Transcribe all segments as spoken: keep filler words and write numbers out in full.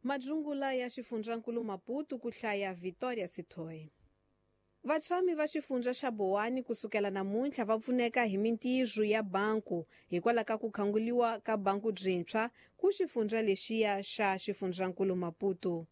Madzungula ya xifundzankulu Maputo ku hlaya Victoria Sithoi. Vatshami va xifundza xa Bowani kusukela namuntlha va pfuneka hi mintirho ya banku hikwalaho ka ku khanguliwa ka banku byintshwa ku xifundza lexiya xa xifundzankulu Maputo.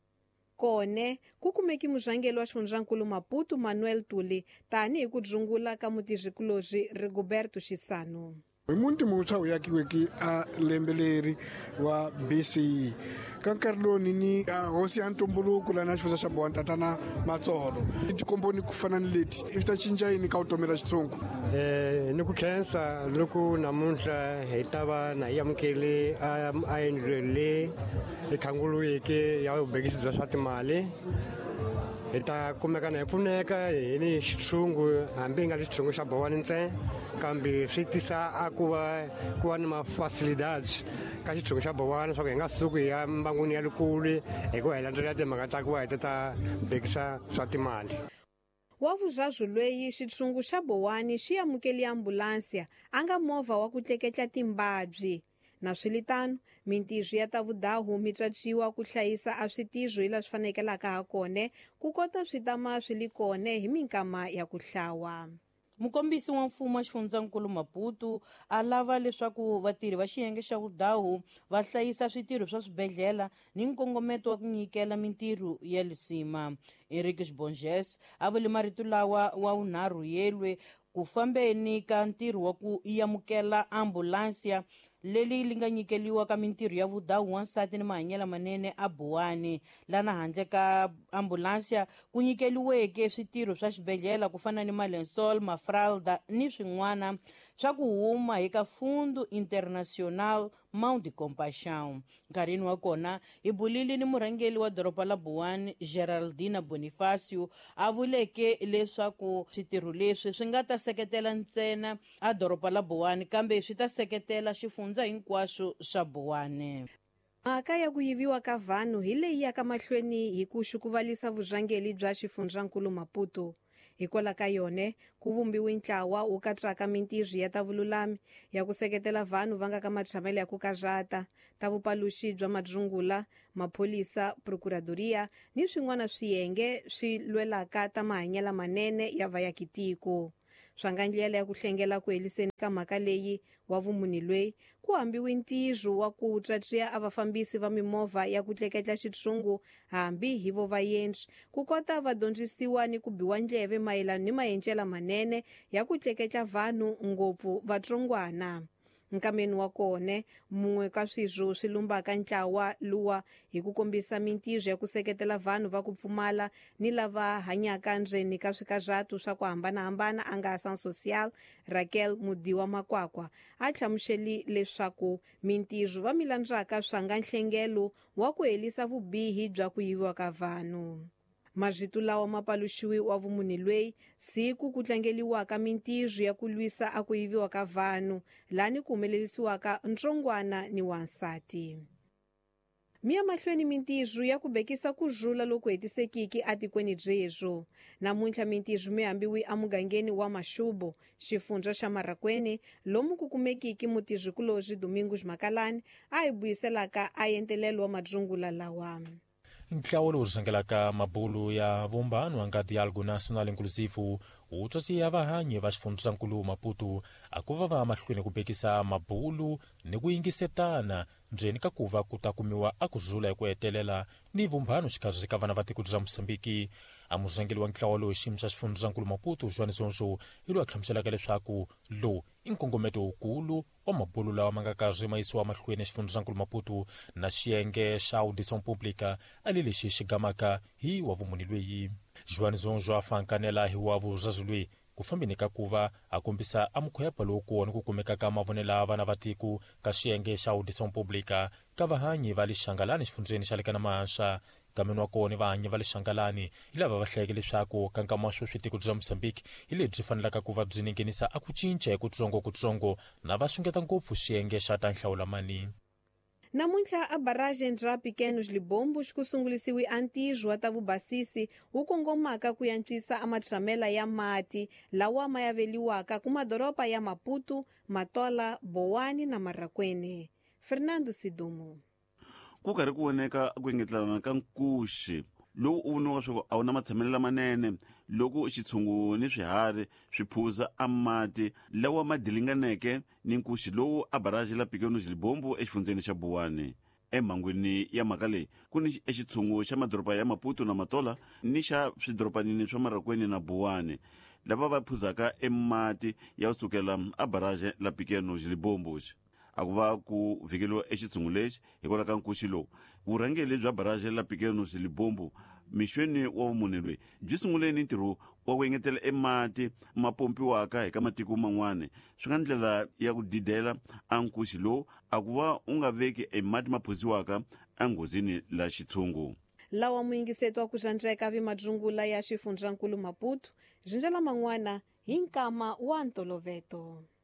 Kone ku kumeki murhangeri wa xifundzankulu Maputo Manuel Tuli tanihi ku dzungula ka mutirhikulozi Rigoberto Xisano. Hi muti muntshwa wu yakiweke a lembe leri wa B C E ka nkarhi lowu ni ni hosi ya ntumbuluko lana xifundza xa Bowani tatana Matsolo i tikomboni ku fana ni leti i ta cinca yini ka vutomi ra xitshungu? Eh ni ku khensa loko namuntlha hi ta va na hi amukele a a endlweni leyi hi khanguluweke ya vubekisi bya swa timali. Hi ta kumeka na hi pfuneka hi ni xitshungu hambi hi nga ri xitshungu xa Bowani ntsena kambe swi tisa a ku va ku va ni ma-facilidades ka xitshungu xa Bowani leswaku hi nga suki hi ya mbangwini ya lekule hikuva hi landzelela timhaka ta ku va hi ta ta bekisa swa timali. Wa vuzazwu lweyi xitshungu xa Bowani xi amukeli ambulansiya a nga movha wa ku tleketla timbabyi. Na swilitano mintirho ya ta vudahu mi tswatsiwa ku hlayisa a switirho hi la swi fanekelaka ha kone ku kota swi tama swi li kone hi minkama ya ku hlawa. Mukombisi wa mfumo wa xifundzankulu Maputo a lava leswaku vatirhi va xiyenge xa vudahu va hlayisa switirho swa swibedhlele ni nkongometo wa ku nyikela mintirho ya lisima. Henriques Borges a vule marito lawa wa vunharhu yelwe ku fambeni ka ntirho wa ku amukela ambulansiya leli li nga nyikeliwa ka mintirho ya vudahu wansati ni mahanyelo manene a Bowani. Lana handle ka ambulansiya ku nyikeliweke switirho swa xibedhlele ku fana ni malensol, mafralda ni swin'wana swa ku huma hi ka Fundo Internacional Mão de Compaixão. Nkarhini wa kona hi bulile ni murhangeri wa doroba la Bowani Geraldina Bonifacio a vuleke leswaku switirho leswi swi nga ta seketela ntsena a doroba la Bowani kambe swi ta seketela xifundza hinkwaxo xa Bowani. Mhaka ya ku yiviwa ka vanhu hi leyi yaka mahlweni hi ku xukuvalisa vurhangeri bya xifundzankulu Maputo. Hikwalaho ka yone ku vumbiwe ntlawa wu katsaka mintirho ya ta vululami ya ku seketela vanhu va nga ka matshamelo ya ku karhata, ta vupaluxi bya madzungula, mapholisa, procuradoria ni swin'wana swiyenge swi lwelaka ta mahanyelo manene ya vayakitiko. Swa nga ndlela ya ku hlengela ku heliseni ka mhaka leyi wa vumunhu lweyi ku hambiwe ntirho wa ku tswatsiya a vafambisi va mimovha ya ku tleketla xitshungu hambi hi vo vaendzi ku kota va dyondzisiwa ni ku biwa ndleve mayelana ni maendlelo manene ya ku tleketla vanhu ngopfu vatsongwana. Nkameni wa kone mun'we ka swirho swi lumbaka ntlawa luwa hi ku kombisa mintirho ya ku seketela vanhu va ku pfumala ni lava hanyaka ndzeni ka swikarhatu swa ku hambanahambana a nga Ação Social Raquel Mudiwa Makwakwa a hlamuseli leswaku mintirho va milandzaka swa nga nhlengelo wa ku helisa vubihi bya ku yiviwa ka vanhu. Marito lawa ma paluxiwi wa vumunhu lweyi siku ku tlangeliwaka mintirho ya ku lwisa a ku yiviwa ka vanhu lani ku humelerisiwaka ntsongwana ni wansati. Miya mahlweni mintirho ya ku bekisa ku rhula loku hetisekiki atikweni byebyo. Namuntlha mintirho mi hambiwi emugangeni wa Maxubo, xifundza xa Marracuene, lomu ku kumekiki mutirhikulozi Domingos Makalani a hi buyiselaka a entelelo wa madzungula lawa. Ntlawa lowu rhangelaka mabulu ya vumbano wa nga Diálogo Nacional Inclusivo wu tswatsiya vahanyi va xifundzankulu Maputo a ku va va mahlweni ku bekisa mabulu ni ku yingisetana ndzeni ka ku va ku ta kumiwa a ku zula hi ku hetelela ni vumbano xikarhi ka vana va tiko ra Mozambiki. A murhangeri wa ntlawa lowu xiyimo xa xifundzankulu Maputo João Zonzo hi loyi a hlamuselaka leswaku lowu i nkongometo wukulu wa mabulu lawa ma nga karhi ma yisiwa mahlweni xifundzankulu Maputo na xiyenge xa Audição Pública ali lexi xi gamaka hi wa vumunhu lweyi. João Zonzo a fankanela hi wa vuzazi lweyi ku fambeni ka ku va a kombisa a mukhwepa lowu ni ku kumeka ka mavonelo ya vana va tiko ka xiyenge xa Audição Pública ka vahanyi va le Xangalani xifundzeni xa le ka Namahanxa. Kameni wa kona vahanyi va le Xangalani hi lava va hlayeke leswaku ka nkama wa sweswi tiko bya Mozambique hi lebyi fanelaka ku va byi ningenisa a ku cinca hi kutsongokutsongo na va xungeta ngopfu xiyenge xa ta nhlawulamani. Namuntlha a barragem ra Pequenos Libombos ku sungulisiwe a ntirho wa ta vubasisi wu kongomaka ku antswisa a matshamela ya mati lawa ma yaveliwaka ku madoroba ya Maputo, Matola, Bowani na Marracuene. Fernando Sidumo. Ku karhi ku voneka ku engetelana ka nkuxi lowu u voniwaka swa ku a wu na matshamelo lamanene loko xitshungu ni swiharhi swi phuza a mati lawa ma dilinganeke ni nkuxi lowu a baraji la Pequenos Libombo exifundzeni xa Buwani. Emhangwini ya mhaka leyi ku ni exitshungu xa madoroba ya Maputo na Matola ni xa swidorobanini swa Marakweni na Buwani lava va phuzaka emati ya kusukela a baraji la Pequenos Libombo. A ku va ku vhikeliwa exitshungu lexi hikwalaho ka nkuxi lowu. Vurhangeri bya baraji la Pequenos Libombo mixweni wa vumune loyi byi sungule ni ntirho wa ku engetela emati ma pompiwaka hi ka matiko man'wana, swi nga ndlela ya ku didela a nkuxi lowu a ku va u nga veki emati ma phuziwaka enghozini la xitshungu. Lawa muyingiseto wa ku xandzeka vimadzungula ya xifundzankulu Maputo, zinjela man'wana hi nkama wa ntoloveto.